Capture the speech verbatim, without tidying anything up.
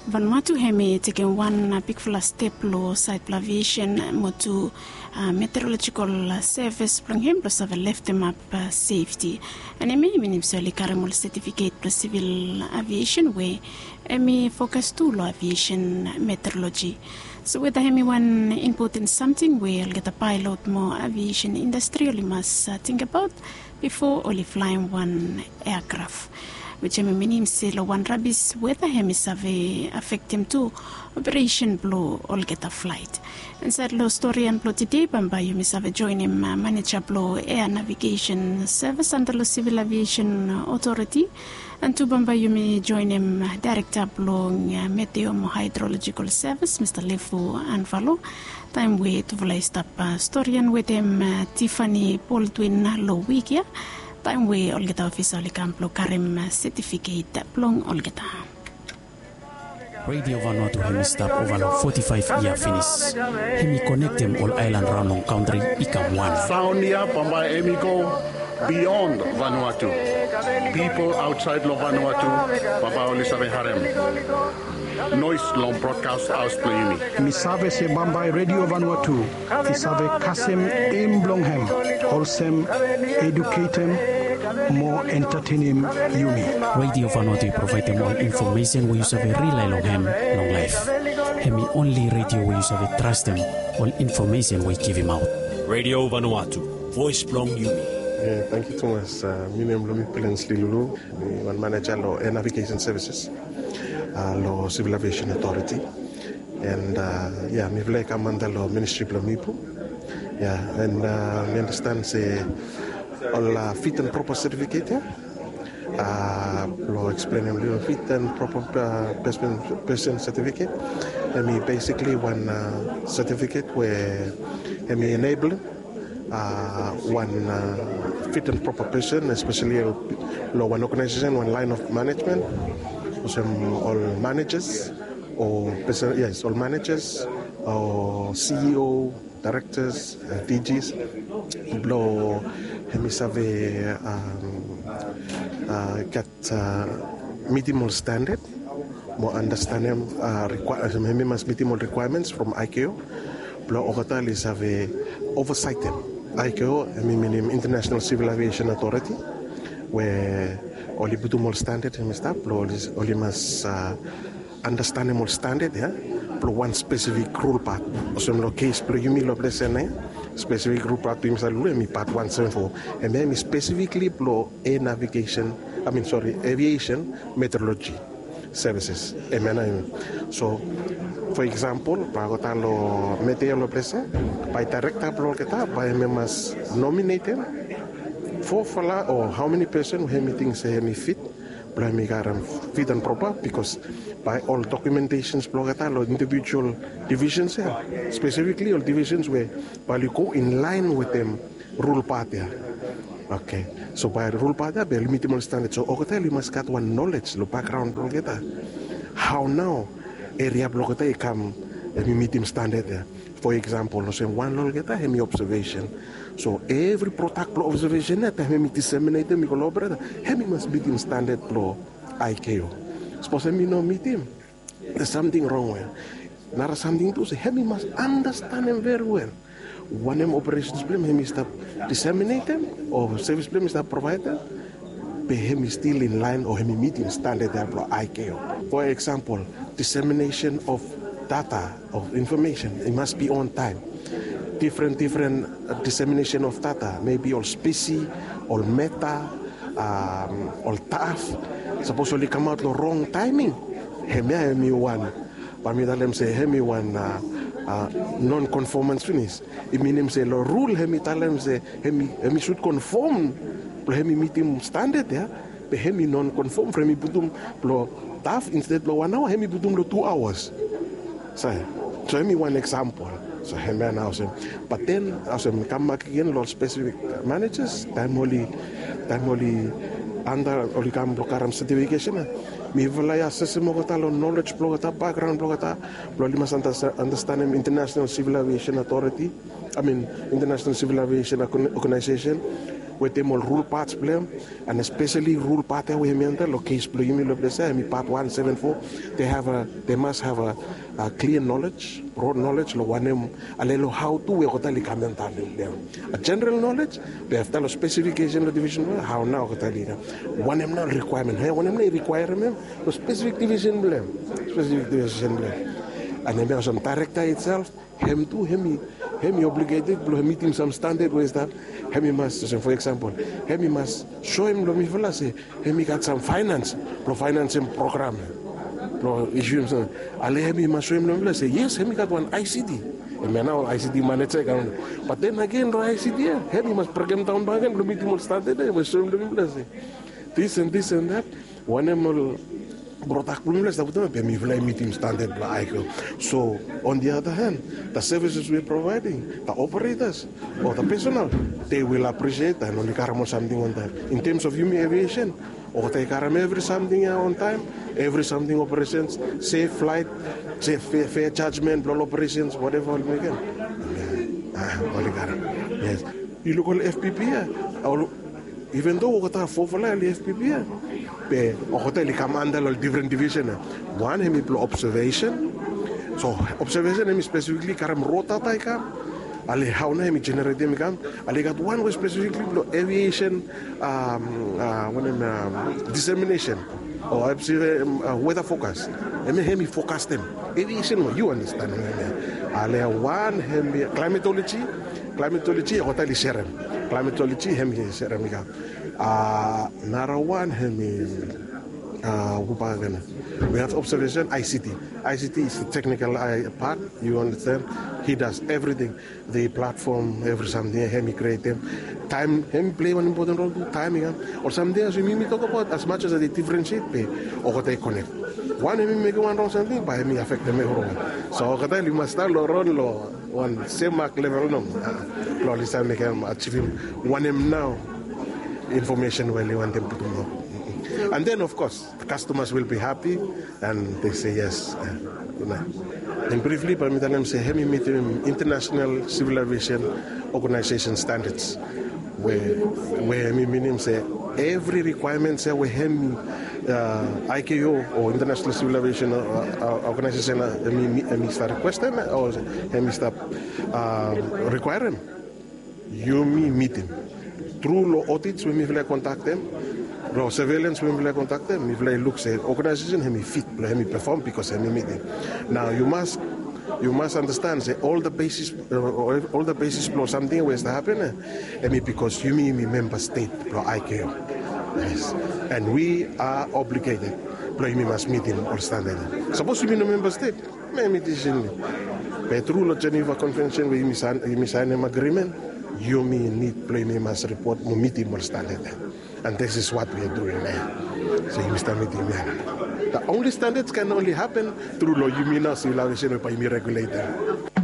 Vanuatu hemi tekem wan bigfala step long saed blong aviesen mo tu meteorolojikal sevis blong hem blong save leftemap sefti. An hemi minim se oli karem ol setifiket blong sivil aviesen we hemi fokas tu long aviesen meteoroloji. So weta hemi wan impoten samting we olgeta paelot mo aviesen indastri oli mas tingbaot bifo oli flaem wan eakraf, wij hemi minim se long wan rabis weta hemi save afektem tu operesen blong olgeta flaet. Insaed long storian blong tede bambae yumi save joenem maneja blong ea navigesen sevis anda long sivil aviesen otoriti. An tu bambae yumi joenem daerekta blong meteo mo haedrolojikal sevis mista Lefu Anvalo, taem we tufala i stap storian wetem Tifani Baldwin long wik ya, taem we olgeta ofisa oli kam blong karem setifiket blong olgeta. Redio Vanuatu hemi stap ova long foti faef yia finis. Hemi konektem ol aelan raon long kantri i kam wan. Saon ya bambae hemi go bion Vanuatu. Pipol aotsaed long Vanuatu bambae oli save harem noes long brodkas haos blong yumi. Mi save se bambae Redio Vanuatu i save kasem em blong hem olsem eduketem mo entatenem yumi. Redio Vanuatu i provaedem ol infomesen we yu save rilae long hem long laef. Hemi onli redio we yu save trastem ol infomesen we i givimaot. Redio Vanuatu, voes blong yumi. Tangkiu tumas. Mi nem blong mi Plens Lilulu. Mi wan maneja long ea navigesen sevises long sivil aviesen otoriti. An ya mifala i kam anda long ministri blong Mipu. Ya, an mi andastan se ol fit an propa setifiket ya, blong eksplenem lilo, fit an propa pesen setifiket, hemi besikli wan setifiket we hemi enebelem wan fit an propa pesen, espeseli long wan oganaesesen, wan laen of manejmen, olsem ol manejas o pesen, yes, ol manejas o CEO, daerektas, DGs, blong hemi save gat mitim ol standad mo andastanem, hemi mas mitim ol rikwaemens from ICAO blong olgeta oli save ovasaetem. ICAO hemi minim International Civil Aviation Authority, we oli putum ol standad hemi stap blong oli mas andastanem ol standad ya blong wan spesifik rul pat. Olsem long kes blong yumi long ples ya nao, spesifik rul pat blong yumi save lulu hemi pat wan seven four. Hemia hemi spesifikli blong ea navigesen, I mean, sori, aviesen meteoroloji sevises. Hemia nao hemi. So fo eksampol, bae olgeta long meteo long ples ya, bae daerekta blong olgeta bae hemi mas nominetem fofala o hao meni pesen we hemi ting se hemi fit blong hemi karem fit an propa, bikos bae ol dokumentesens blong olgeta long indivijual divisens ya, spesifikli ol divisens we bae oli go inlaen wetem rul pat ya. Oke. So bae rul pat ya bae oli mitim ol standad. So olgeta oli mas gat wan nolej long bakgraon blong olgeta, hao nao eria blong olgeta i kam, hemi mitim standad ya. Fo eksampol, olsem wan long olgeta hemi obsevesen. So evri prodak blong obsevesen ya, taem hemi diseminetem i go long opereta, hemi mas mitim standad blong ICAO. Sapos hemi no mitim, there's samting rong we. Nara samting tu se hemi mas andastanem veriwel wanem operesens blong hem hemi stap diseminetem o sevis blong hem hemi stap provaedem, be hemi stil inlaen o hemi mitim standad ya blong ICAO. Fo eksampol, dissemination of data, of information, it must be on time. Difren difren dissemination of data, mebi ol spesi, ol meta, ol taf, sapos oli kamaot long rong taeming, hemia hemi wan, bae mi talem se hemi wan non konfomans finis. I minim se long rul hemi talem se hemi sud konfom blong hemi mitim standad ya, be hemi non konfom from hemi putum long taf, insted blong wan aoa hemi putum long tu aoas. So hemi wan eksampol. So hemia nao olsem. Bat den olsem, kam bak agen long ol spesifik manejas, taem oli, taem oli anda, oli kam blong karem setifikesen ya, mifala i asesem olgeta long nolej blong olgeta, bakgraon blong olgeta, blong oli mas andastanem International Civil Aviation Authority, I mean, International Civil Aviation Organization, wetem ol rul pats blong hem, and especially rul pat ya we hemi antap long kes blong yumi long ples ya, hemi pat wan seven four. They have a, they must have a, a clear knowledge, broad knowledge long wanem, ale long hau tu we olgeta oli kam antap long hem. A general knowledge, be afta long specification long division, hau nao olgeta oli kam. Wanem nao requirement, he, wanem nao i requirem hem long specific division blong hem, specific division blong hem. And hemia olsem director itself, hem tu, hemi, hemi obligated blong mitim sam standard we i stap. Hemi mas, olsem, for example, hemi mas soem long mifala se hemi gat sam finance blong financem program blong issuem sam. Ale hemi mas soem long mifala se yes, hemi gat wan I C T. Hemia nao I C T manager i kam. But then again, long I C T ya, hemi mas brekem daon bakegen blong mitim ol standard ya, hemi mas soem long mifala se this and this and that. Wanem ol product blong mifala i stap wetem, be mifala i mitim standard blong ICAO. So on the other hand, the services we are providing, the operators or the personnel, they will appreciate and oli karem ol samting on time. In terms of yumi aviation, olgeta i karem evri samting ya on time, evri samting, operations, safe flight, safe, fair, fair judgment blong ol operations, whatever oli mekem. Ah, oli karem. Yes. Yu luk ol F P P ya, ol, even though olgeta fofala oli F P P ya, be olgeta oli kam anda long ol different division ya. Wan hemi blong observation. So observation hemi specifically karem raw data i kam. Ale hau nao hemi generatem i kam. Ale i gat wan we specifically blong aviation, um, uh, wanem, um, dissemination o, um, uh, weather forecast. Hemia hemi forecastem aviation we, yu understand hemia. Ale wan hemi climatology. Climatology olgeta oli serem. Climatology hemi serem i kam. Uh, nara wan hemi, uh, hu bakegen. We have observation, I C T. I C T is the technical, uh, part, you understand? He does everything. The platform, evri samting ya hemi createm. Taem hemi play wan important role tu, taem i kam. Ol samting ya, so yumi tokabaot, as much as oli differentiate, be olgeta i connect. Wan hemi mekem wan rong samting, bae hemi afektem evriwan. So olgeta oli mas stap long ron long wan sem mak level nomo. Blong oli save mekem, achievem wanem nao information we oli wantem putum long. And then, of course, the customers will be happy and they say yes. Uh, you know. And briefly, bae mi talem se hemi mitim International Civil Aviation Organization standards, we, we hemi minim se evri requirements ya we hemi, uh, ICAO o International Civil Aviation, uh, uh, Organization, uh, hemi, hemi stap requestem o hemi stap, uh, requirem, yumi mitim. Tru long audits we mifala i kondaktem, long surveillance we mifala i kondaktem, mifala i luk se organization hemi fit blong hemi perform, because hemi mitim. Nao yu mas, yu mas understand se ol the basis, uh, ol the basis blong samting we i stap hapen, eh, hemi because yumi, yumi member state blong ICAO. Yes. And we are obligated blong yumi mas mitim ol standard. Sapos yumi no member state, hemi decision. Be tru long Geneva Convention we yumi saen, yumi saenem agreement, yumi nid blong yumi mas ripot mo mitim ol standard. And this is what we are doing now. So yumi stap mitim ya. The only standards can only happen tru long yumi nao, civil aviation, we bae yumi regulate ya.